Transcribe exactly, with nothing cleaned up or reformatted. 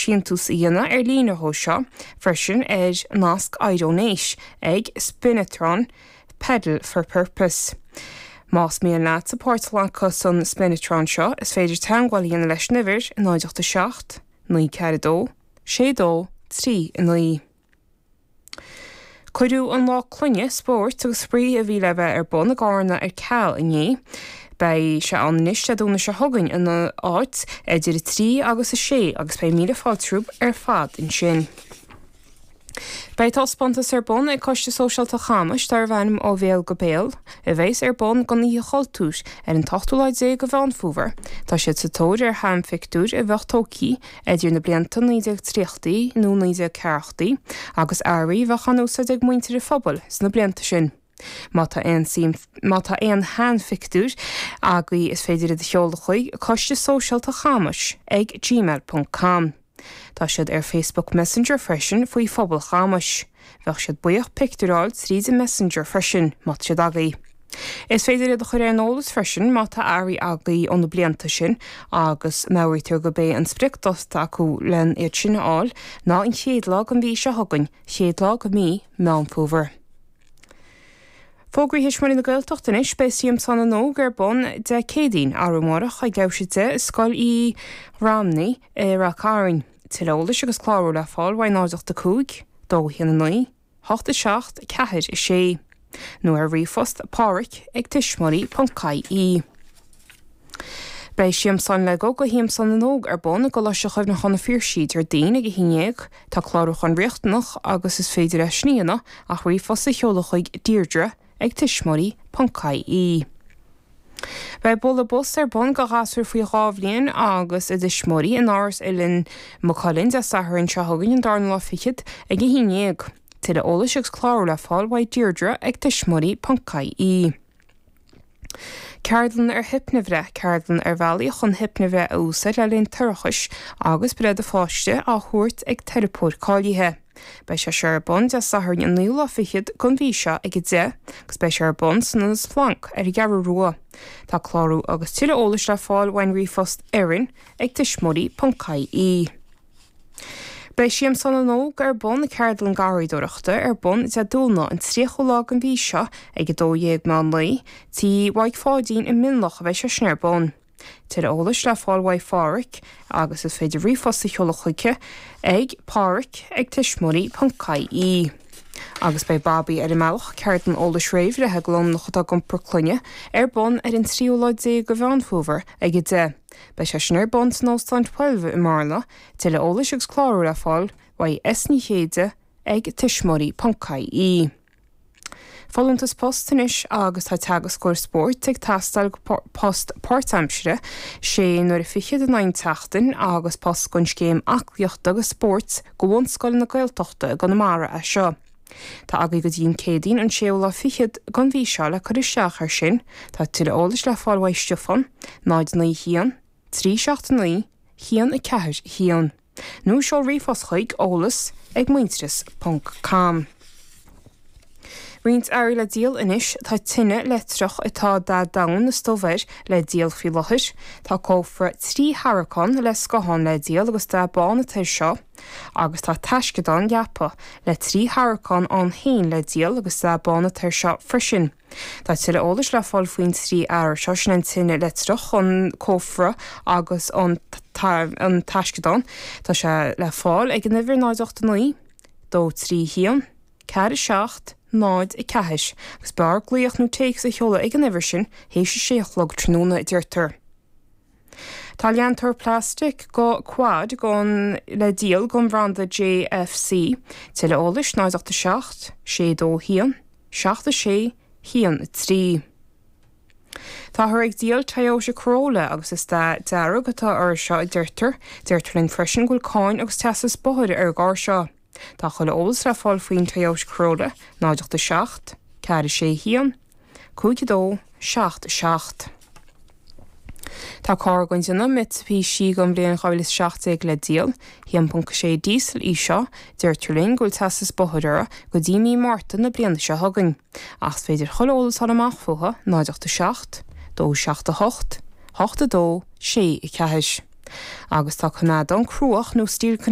síntiús a dhéanamh ar líne dhó seo freisin ar nasc iDonate ag Spinatron Pedal for Purpose. Más mian leat sa páirt a ghlacadh san Spinatron seo is féidir teagmháil a dhéanamh leis an uimhir náid ocht a seacht, naoi ceathair dó, sé dó, trí naoi. Cuireadh an lá clainne spóirt agus spraoi a bhí le bheith ar bun i gCarna ar ceal inné. Beidh sé ann anois Dé Domhnaigh seo chugainn ina áit idir a trí agus a sé agus beidh míle fáilte romhaibh ar fad ansin. Beidh taispeántas ar bun ag Coiste Sóisialta Chamais darb ainm Ó Bhéal go Béal, a bheas ar bun don Oíche Chultúir ar an t-ochtú lá déag de Mheán Fómhair. Tá siad sa tóir ar sheanphictiúir a bheadh tógtha idir na blianta naoi déag tríochaidí nó naoi déag ceathrachaidí agus earraí a bheadh á n-úsáid ag muintir an phobail sna blianta sin. Má tá aon má tá aon sheanphictiúir agaibh is féidir iad a sheoladh chuig Coiste Sóisialta Chamais ag gmail ponc com. Tá siad ar Facebook Messenger freisin faoi Phobal Chamais. Bheadh siad buíoch pictiúir a fháil tríd an Messenger freisin má tá siad agaibh. Is féidir iad a chur ar an eolas freisin má tá earraí agaibh ó na blianta sin agus meabhraítear gurb é an spriocdháta acu len iad sin a fháil ná an chéad lá den mhí seo chugainn, chéad lá de mhí Meán Fómhair. Fógraí Thuismitheoirí na Gaeltachta anois beidh Siamsán na nÓg ar bun Dé Céadaoin arú amárach ag leathuair tar éis a deich i Scoil Uí Ramhnaigh i Ráth Cairn. Tuilleadh eolais agus clárú le fáil uaidh náid ocht a cúig, dó a haon a naoi, hocht a seacht, ceathair a sé. Nó ar ríomhphost pádraic ag tuismitheoirí ponc ie. Beidh Siamsán Lego go Shiamsán na nÓg ar bun i gColáiste Chuimhneacháin na Phiarsaigh Déardaoin ag a haon déag. Tá clárúchán riachtanach agus is féidir é sin a dhéanamh ach ríomhphost a sheoladh chuig Deirdre ag tuismitheoirí ponc ie. Beidh bualadh bos ar bun do ghasúir faoi dhá bhliain agus a dtuismitheoirí in Áras Oileán Maigh Cuilinn Dé Sathairn seo chugainn an darna lá fichead ag a haon déag. Tuilleadh eolais agus clárú le fáil uaidh Deirdre ag tuismitheoirí ponc ie. Ceardlann ar hipnibhreith, ceardlann ar bhealaí chun hipnibhreith a úsáid le linn toirchis agus breith do pháiste á thabhairt ag teiripeoir cáilithe. Beidh sé seo ar bun Dé Sathairn an naoú lá fichead den mhí seo ag a deich agus beidh sé ar bun san Ionad Splanc ar an gCeathrú Rua. Tá clárú agus tuilleadh eolais le fáil uaidh ríomhphost Erin ag tuismitheoirí ponc ie. Beidh Siamsán na nÓg ar bun ceardlann garraíodóireachta ar bun Dé Domhnaigh an tríochú lá den mhí seo ag a dó dhéag meán lae, Tigh Mhaidhc Pháidín i Mionlach a bheidh sé sin ar bun. Tuilleadh eolais le fáil uaidh Phádhraic agus is féidir ríomhphost a sheoladh chuige ag pádraic ag tuismitheoirí ponc ie. Agus beidh Babaí ar an mbealach ceardlann eolais réamhbhreithe do lánúineacha atá ag iompar clainne ar bun ar an tríú lá déag de Mheán Fómhair ag a deich. Beidh sé sin ar bun san Óstán Twelve i mBearna, tuilleadh eolais agus clárú le fáil uaidh S Ní Chéide ag tuismitheoirí ponc ie. Folúntas post anois agus tá teagascóir spóirt ag teastáil go post páirtaimseartha sé huaire fichead in aghaidh na seachtaine agus post don scéim aclaíochta agus spóirt go bhunscoileanna Gaeltachta i gConamara é seo. Tá agaibh go dtí an Céadaoin an séú lá fichead den mhí seo le cur isteach air sin, tá tuilleadh eolais le fáil uaidh Stiofán, náid naoi haon, trí seacht naoi, haon a ceathair haon. Nó seol ríomhphost chuig eolas ag muintearas ponc com. Roinnt earraí le díol anois tá tine leictreach atá dath donn is dubh air le díol faoi láthair. Tá cófra trí tharraiceán le scathán le díol agus dath bán atá air seo, agus tá taisceadán leapa le trí tharraiceán ann féin le díol agus dath bán atá air seo freisin. Tá tuilleadh eolais le fáil faoin trí earra seo sin an tine leictreach, an cófra agus an an taisceadán. Tá sé le fáil ag an uimhir náid ocht naoi, dó trí haon, ceathair seacht, náid a ceathair, agus b'fhearr glaoch nó téacs a sheoladh ag an uimhir sin théis a sé a chlog tráthnóna a deirtear. Tá leantóir plastic go quad gon le díol den bhranda JFC, tuilleadh eolais náid ocht a seacht, sé dó haon, seacht a sé, haon a trí. Táthar ag díol Toyota Corolla agus is dath dearg atá air seo a deirtear, deirtear linn freisin go bhfuil cáin agus teastas bóthair ar an gcarr seo. Tá chuile eolas le fáil faoin Toyota Corolla náid ocht a seacht, ceathair sé haon, cúig a dó, seacht seacht. Tá carr den déanamh Mitsubishi den bhliain dhá mhíle is seacht déag le díol, haon ponc sé diesel í seo, deirtear linn go bhfuil teastas bóthair uirthi go dtí mí Márta na bliana seo chugainn. Ach is féidir chuile eolas a fháil amach fúithi náid ocht a seacht, dó seacht a hocht, hocht a dó, sé a ceathair. Agus tá coimeádán cruach nó steel